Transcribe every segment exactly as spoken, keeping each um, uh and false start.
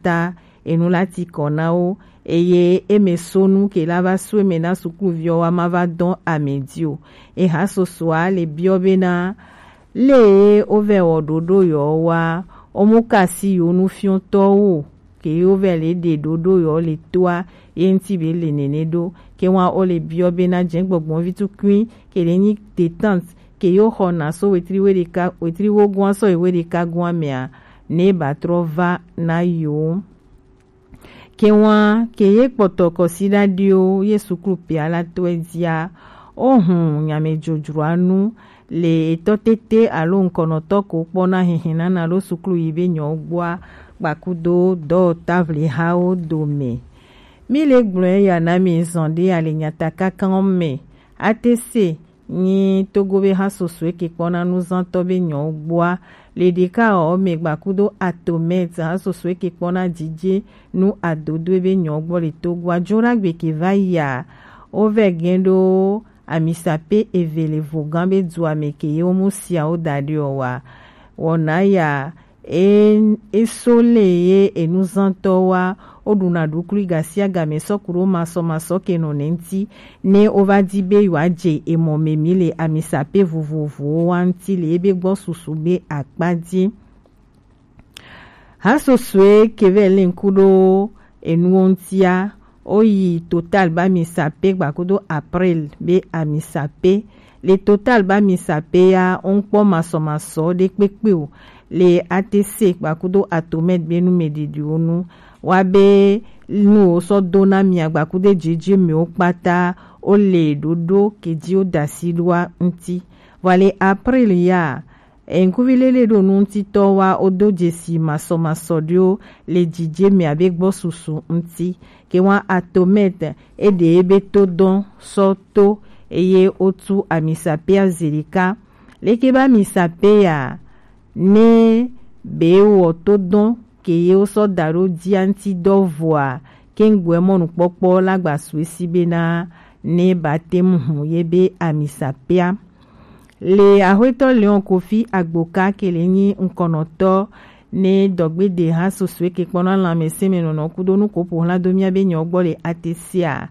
ta enu la ti kɔ na wo, eye eme sonu ke la va so eme na sukluviwo wa ma va dɔn ame di o. Eha sosoa le biɔ bena, le ye wo vɛ wɔ ɖoɖo yɔ wa, wo mu ka si yo nufiɔtɔwo ke yo vɛ le ɖe ɖoɖo yɔ le toa ye ŋti be le nene ɖo. Ke wa wo le biɔ bena jɛ gbɔgbɔn vi tukui ke le nyi detente ke yo xɔ na so wetri we ɖeka, wetri wo gua sɔ yi we ɖeka gua mea, ne ba trɔ va na yo. Ke wa ke ye kpɔtɔ kɔsiɖa ɖio ye suklu pia la tɔe dia, o hun nyame jojroa nu le etɔ tete alo ŋkɔnɔtɔ ko kpɔ na hinhin nana lo suklu yi be nyɔ gbɔa gbakudo dɔ tavli hawo dome. Mi le gblɔe ya na mi zɔn ɖe ale nyata kankan me. Ate se nyi Togo be ha soso eke kpɔ na nuzantɔ be nyɔ gbɔa le ɖeka ɔ me gbakudo atomɛt ha soso eke kpɔ na jije nu adodo be nyɔ gbɔ le Togo a jo ɖagbe ke va ya. O vɛ gɛn ɖo amisa pe eve le vogan be du ame ke ye wo mu sia wo da ɖe ɔ wa. Wɔna ya e, e so le ye enuzantɔ wa, o ɖuna ɖukli gasiagame sɔ ku ɖo masɔmasɔ ke nɔ ne ŋti, ne o va di be yewoa je emɔ me mi le amisa pe vovovowo wa ŋti le ebe gbɔ susu be akpa di. Ha sosoe ke vɛ le ŋku ɖo enuwo ŋtia, o yi Total ba amisa pe gbakudo April be amisa pe. Le Total ba amisa pe ya, o ŋkpɔ masɔmasɔ ɖe kpekpe o. Le A T C gbakudo Atomed be nu me ɖiɖiwo nu. Wa be nu wo sɔ do na mia gbakudo jeje me wo kpata, o le ɖoɖo ke ji o dasi ɖoa ŋti. Vɔ le April ya, eŋkuvi lele ɖo nu ŋtitɔ wa o do jesi masɔmasɔ ɖewo le jije me abe gbɔ susu ŋti. Ke wa Atomed e ɖe ebe to dɔn sɔ to eye o tu amisa pe azeli ka. Leke ba amisa pe ya, ne be wɔ to dɔn ke ye wo sɔ da ɖo dia ŋti dɔ vɔa, ke ŋgbɔɛ mɔnukpɔkpɔ la gba su esi bena ne ba te mu hu ye be amisa pea. Le Axwetɔ Léon Kofi Agboka ke le nyi ŋkɔnɔtɔ ne dɔgbede ha sosoe ke kpɔna lãmesẽmenɔnɔ kudo nukopo hla do mia be nyɔ gbɔ le A T C a.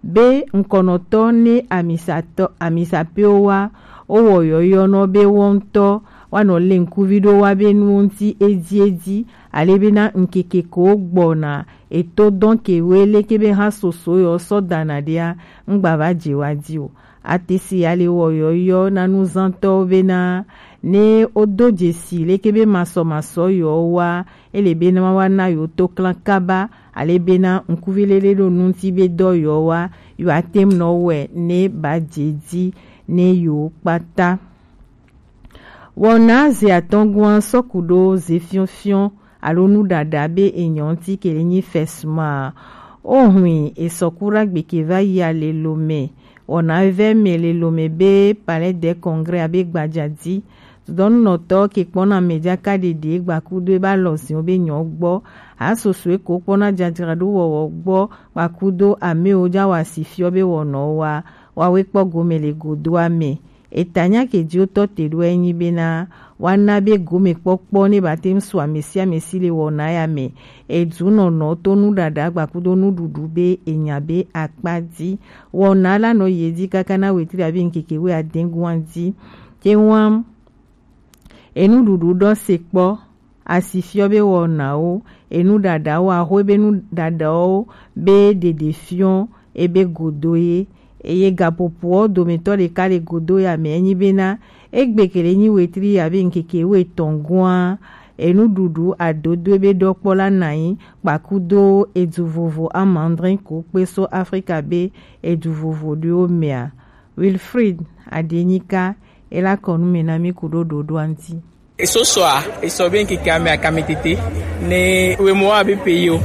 Be ŋkɔnɔtɔ ne amisatɔ, amisapewo wa, o wɔ yɔyɔ nɔ be wɔ ŋtɔ wa nɔ le ŋkuvi ɖo wa be nuwo ŋti edi edi, ale bena ŋkeke ko gbɔna eto dɔn ke we leke be ha soso yɔ sɔ dana ɖea, ŋgba va je wa di o. A T C ya le wɔ yɔyɔ na nuzantɔwo bena ne o do jesi leke be masɔmasɔ yɔ wa, ele bena wa na yo to klan kaba, ale bena ŋkuvi lele ɖo nu ŋti be dɔ yɔ wa, yo a te ŋu nɔ wɛ ne ba je di ne yo kpata. Wɔna ze atɔngua sɔku ɖo ze fiɔfiɔ alo nuɖaɖa be enyɔ ŋti ke le nyi fɛsuma. O hui esɔku ɖagbe ke va yi ale lome. Wɔna vɛ me le lome be Palais des Congrès abe gbajadi. Dɔnunɔtɔ ke kpɔna mɛjaka ɖeɖe gbakudo eba lɔziɔ be nyɔ gbɔ. Asosoe ko kpɔna jajraɖo wɔwɔ gbɔ gbakudo amewo ja wa si fiɔ be wɔnɔ wa. Wa we kpɔ gome le godoa me. Etanya ke ji wotɔ te ɖo enyi bena wa na be gome kpɔkpɔ ne ba te ŋu su amesi amesi le wɔna ya me. Edu nɔnɔ to nuɖaɖa gbakudo nuɖuɖu be enya be akpa di. Wɔna la nɔ ye di kaka na wetri abi ŋkeke we adengua di. Te ŋua enuɖuɖu ɖɔ se kpɔ. Asi fiɔ be wɔnawo, enuɖaɖawo, axwe be nuɖaɖawo be ɖeɖe fiɔ ebe godo ye. Eye gaƒoƒowo dometɔ ɖeka le godo ya me enyi bena egbe ke le nyi wetri abe ŋkeke wuietɔ̃ gɔa, enuɖuɖu adodo ebe ɖɔkpɔ la nanyi kpakudo edu vovo amandrin ko kpe so Afrika be edu vovo ɖewo mea. Wilfried Adenyika ela kɔnu me na mi ku ɖo ɖoɖoa ŋti. Esosoa, esɔ be ŋkeke ame akame tete. Ne wemo abe pays o.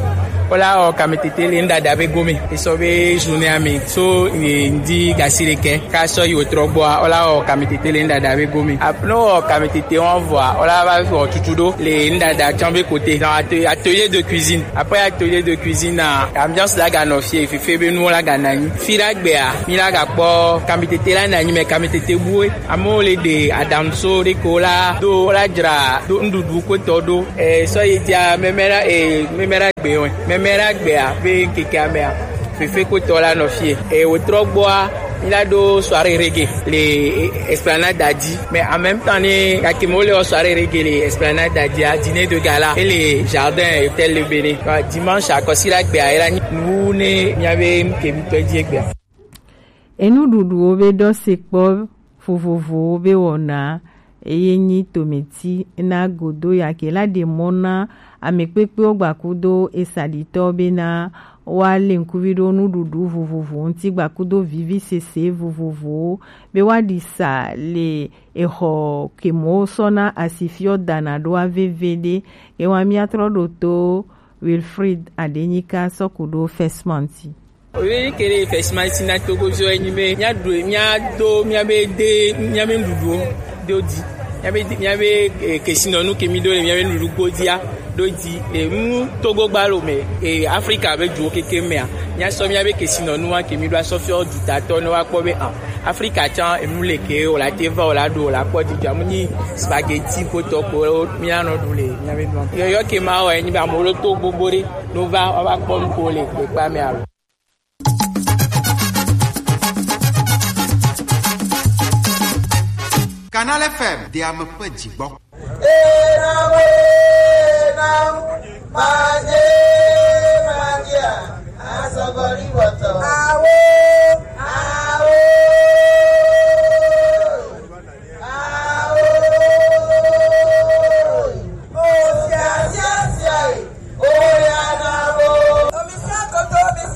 Ola o kame tete le ndada be gome. Esɔ be journée ame. So, e, ndi gasi le ke. Ka sɔ yi otrɔ gbɔa, ola o kame tete le ndada be gome. Ap-, no o kame tete wan vɔa, ola va vɔ tutu ɖo le ndada tsã be côté. Dans atte-, atelier de cuisine. Après atelier de cuisine, na ambiance la ga nɔ fie, fefe be nuwo la ga nanyi. Fi la gbea, mi la ga kpɔ kame tete la nanyi me kame tete bue. Amewo le ɖe aɖaŋu so ɖe ko la do, la dzra do nuɖuɖu kpetɔ ɖo. E, sɔ yi dia, mɛmɛ la, e, mɛmɛ la Gbe wɛ. Mɛmɛ la gbea be ŋkeke amea. Fefe kpotɔ la nɔ fie. E wotrɔ gbɔa, mi la ɖo soirée reggae le Esplanade Dadi. Mais en même temps ne gake mo le soirée reggae le Esplanade Dadi a, dîner de gala e le jardin Hôtel Le Bénin. Dimanche akɔsi la gbea e la nyi nu ne miabe ŋke mi tɔ dzi egbea. Enuɖuɖuwo be ɖɔ se kpɔ vovovowo be wɔna eye nyi tometi na godo yake la ɖe mɔ na ame kpekpewo gbakudo esaɖitɔ bena woale ŋkuvi ɖo nuɖuɖu vovovo ŋuti gbakudo vivisese vovovowo be woaɖi sa le exɔ kemo sɔna asifiɔ dana ɖoa veve ɖe. Ewa miatrɔ ɖo to Wilfried Adenyika sɔku ɖo Fesmanti. Oye kele fɛsimansi na Togo zo enyi be mía ɖu mía do mía be de mía be nuɖuɖuwo do di mía be de- mía be eh, kesinɔnu ke mi do le mía be nuɖuɖu godia do di eh, nu Togo gba lo me eh, Afrika be duwo keke mea mía sɔ mía be kesinɔnu wa ke mi do asɔ fiɔ dutatɔ ne wa kpɔ be ah Afrika tsã enu le ke o la te va o la ɖo o la kpɔ didi amu nyi spaghetti kpotɔ ko mía nɔ ɖu le mía be nuɖuɖu yɔyɔ ke ma wɔ enyi be amewo ɖo to gbogbo ɖe. No va woava kpɔ nu ko le kpekpea me alo. Canal F M de ame ƒe dzigbɔ. Awo.